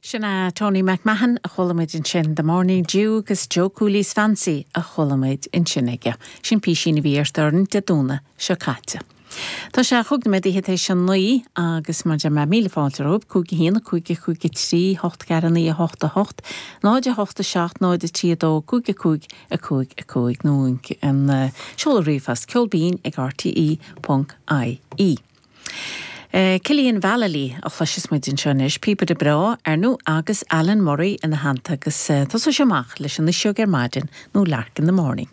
Sin é Tony MacMahon a chuala muid ansin, The Morning Dew agus Joe Cooley's Fancy a chuala muid ansin aige. Sin písín a bhí ar Dorn Dé Domhnaigh seo caite. Tá sé chúig nóiméad fhichead théis a 9 agus mar a deir mé míle fáilte romhaibh, 5 1 5 5 3 8 4 9 8 8 0 8 7 0 3 2 5 5 5 5 nó an seoladh ríomhphost ceolbinn ag rte ponc ie. Cillian Vallely a chloisfeas muid anseo anois, píobaire breá, ar ndóigh, agus Alan Murray ina theannta agus tosóidh sé amach leis an fhuiseog ar maidin nó Lark in the Morning.